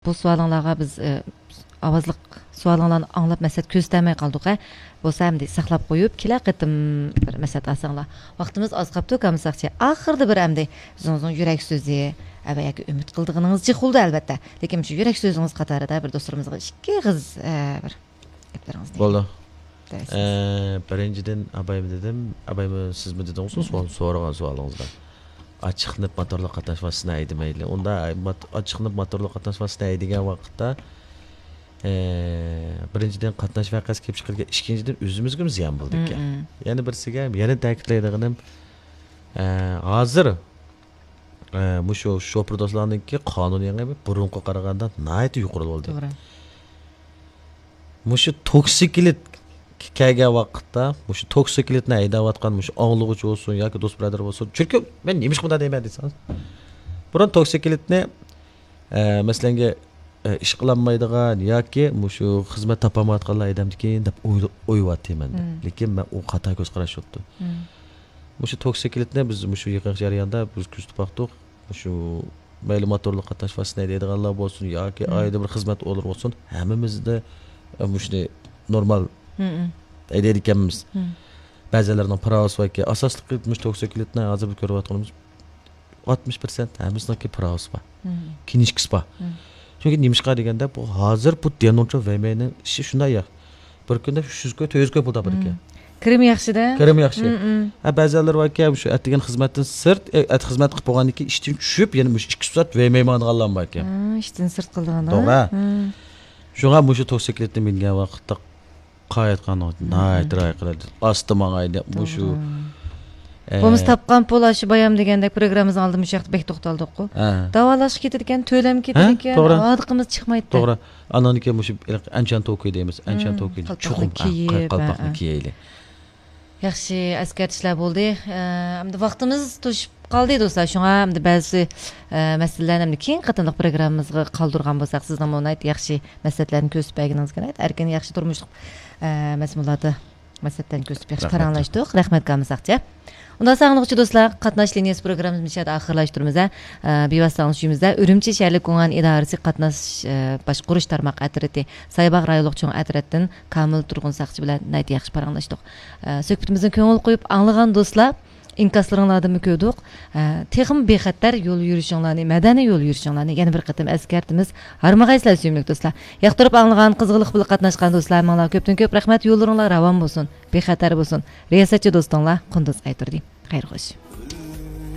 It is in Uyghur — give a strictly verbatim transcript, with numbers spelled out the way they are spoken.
بۇ سوئالىڭلارغا بىز، ئە، ئاۋازلىق سوئالىڭلارنى ئاڭلاپ مەسلىھەت كۆرسىتەلمەي قالدۇق، ھە. بولسا ئەمدى ساقلاپ قويۇپ، كېلەر قېتىم بىر مەسلىھەت ئالساڭلار. ۋاقتىمىز ئاز قاپتۇ، كامساقچى. ئاخىرىدا بىر ئەمدى ئۆزىڭىزنىڭ يۈرەك سۆزى، ئە، ۋە ياكى ئۈمىد قىلىدىغىنىڭىز جىق بولدى، ئەلۋەتتە. لېكىن شۇ يۈرەك سۆزىڭىز قاتارىدا بىر دوستلىرىمىزغا ئىككى ئېغىز، ئە، بىر گەپلىرىڭىزنى. بولدى. دەۋەتسىڭىز. ئە، بىرىنچىدىن، ئابايمۇ دېدىم، ئابايمۇ سىزمۇ دېدىڭىزغۇ، سوئال سورىغان سوئالىڭىزدا. ئاچچىقلىنىپ موتورلۇق قاتناش ۋاسىتىسىنى ھەيدىمەيلى. ئۇندا مات-، ئاچچىقلىنىپ موتورلۇق قاتناش ۋاسىتىسىنى ھەيدىگەن ۋاقىتتا، ئە، بىرىنچىدىن، قاتناش ۋەقەسى كېلىپ چىقىدىكەن، ئىككىنچىدىن، ئۆزىمىزگىمۇ زىيان بولىدىكەن. مم، مم. يەنە بىرسىگە، يەنە تەكىتلەيدىغىنىم، ئە، ھازىر، ئە، مۇشۇ شوپۇر دوستلارنىڭكى قانۇنىي ئېڭى بۇرۇنقىغا قارىغاندا ناھايىتى يۇقىرى بولدى. توغرا. مۇشۇ توكسىكلىت كەلگەن ۋاقىتتا، مۇشۇ توكسىكلىتنى ھەيدەۋاتقان مۇشۇ ئاڭلىغۇچى بولسۇن ياكى دوست بۇرادەر بولسۇن. چۈنكى مەن نېمىشقا بۇنداق دەيمەن دېسىڭىز، بۇرۇن توكسىكلىتنى، ئە، مەسىلەنگە، ئە، ئىش قىلالمايدىغان ياكى مۇشۇ خىزمەت تاپالمايۋاتقانلار ئادەمدىكىن دەپ ئويلا-، ئويلاۋاتىمەن. مم. لېكىن مەن ئۇ خاتا كۆز قاراش بوپتۇ. مم. مۇشۇ توكسىكلىتنى بىز مۇشۇ يېقىنقى جەرياندا بىز كۆزىتىپ باقتۇق. مۇشۇ مەيلى موتورلۇق قاتناش ۋاسىتىسىنى ھەيدەيدىغانلار بولسۇن ياكى مم. ئائىلىدە بىر خىزمەت ئورنى بولسۇن، ھەممىمىزدە، ئە، مۇشۇنى نورمال مم. ھەيدەيدىكەنمىز. مم. بەزىلەرنىڭ پىراۋىسى باركەن. ئاساسلىقى مۇشۇ توكسىكلىتنى ھازىر بىز كۆرۈۋاتقىنىمىز ئاتمىش پىرسەنت ھەممىسىنىڭكى پىراۋىسى بار. مم. كىنىشكىسى بار. مم. چۈنكى نېمىشقا دېگەندە، بۇ ھازىر بۇ دېنونچۇ ۋېمەينىڭ ئىشى شۇنداق يا. بىر كۈندە ئۈچ يۈز كوي، تۆت يۈز كوي پۇل تاپىدىكەن. مم. كىرىمى ياخشىدا. كىرىمى ياخشى. مم، مم. ھە، بەزىلەر باركەن، شۇ ئەتىگەن خىزمەتتىن سىرت، ئە، ئەت-، خىزمەت قىلىپ بولغاندىن كېيىن ئىشتىن چۈشۈپ، يەنە مۇشۇ ئىككى سائەت ۋېمەي ماڭىدىغانلار باركەن. ھە، ئىشتىن سىرت قىلىدىغانلار. توغرا. ھە. شۇڭا مۇشۇ توكسىكلىتنى مىنگەن ۋاقىتتا قايتقانغا مم. ناھايىتى راھەت قىلىدۇ. ئاستا ماڭايلى. مۇشۇ، توغرا. ئە، بولمىسا تاپقان پۇل، ئاشۇ بايام دېگەندەك پروگراممىمىزنىڭ ئالدىدا مۇشۇ ھەقتە بەك توختالدۇققۇ. ھە. داۋالاشقا كېتىدىكەن، تۆلەم ھە، كېتىدىكەن، توغرا. ھاردۇقىمىز چىقمايتتى. توغرا. ئاندىن كېيىن مۇشۇ ئەنچان توكى دەيمىز، ئەنچان مم. توكى. قالپاقنى چوقۇم، ھە، كىيىپ، قالپاقنى ھە، ھە. كىيەيلى. ياخشى ئەسكەرتىشلەر بولدى. ئە، ئەمدى ۋاقتىمىز توشۇپ قالدى، دوستلار. شۇڭا ئەمدى بەزى، ئە، مەسىلىلەرنى ئەمدى كېيىنكى قېتىملىق پروگراممىمىزغا قالدۇرغان بولساق، سىزنىڭمۇ ناھايىتى ياخشى مەسلىھەتلەرنى كۆرسىتىپ بەرگىنىڭىزگە ناھايىتى ئەركىن، ياخشى تۇرمۇشلۇق، ئە، مەزمۇنلاردا مەسلىھەتلەرنى كۆرسىتىپ ياخشى رەھمەت. پاراڭلاشتۇق. رەھمەت، كامىساقچى. ئۇنداق ئاڭلىغۇچى دوستلار، قاتناش لىنىيەسى پروگراممىمىزنى مۇشۇ يەردە ئاخىرلاشتۇرىمىز، ھە. ئە، بىۋاسىتە ئاڭلىتىش ئۈيىمىزدە ئۈرۈمچى شەھەرلىك گۇڭئەن ئىدارىسى قاتناش، ئە، باشقۇرۇش تارماق ئەترىتى، سايباغ رايونلۇق چوڭ ئەترەتتىن كامىل تۇرغۇن ساقچى بىلەن ناھايىتى ياخشى پاراڭلاشتۇق. ئە، سۆھبىتىمىزنى كۆڭۈل قويۇپ ئاڭلىغان دوستلار، ئىنكاسلىرىڭلاردىنمۇ كۆردۇق. ئە، تېخىمۇ بىخەتەر يول يۈرۈشۈڭلارنى، مەدەنىي يول يۈرۈشۈڭلارنى يەنە بىر قېتىم ئەسكەرتىمىز. ھارمىغايسىلەر، سۆيۈملۈك دوستلار. ياقتۇرۇپ ئاڭلىغان، قىزغىنلىق بىلەن قاتناشقان دوستلار، ماڭىلا كۆپتىن كۆپ رەھمەت. يوللىرىڭلار راۋان بولسۇن، بىخەتەر بولسۇن. رىياسەتچى دوستۇڭلار قۇندۇز ئايتۇردى. خەير خوش.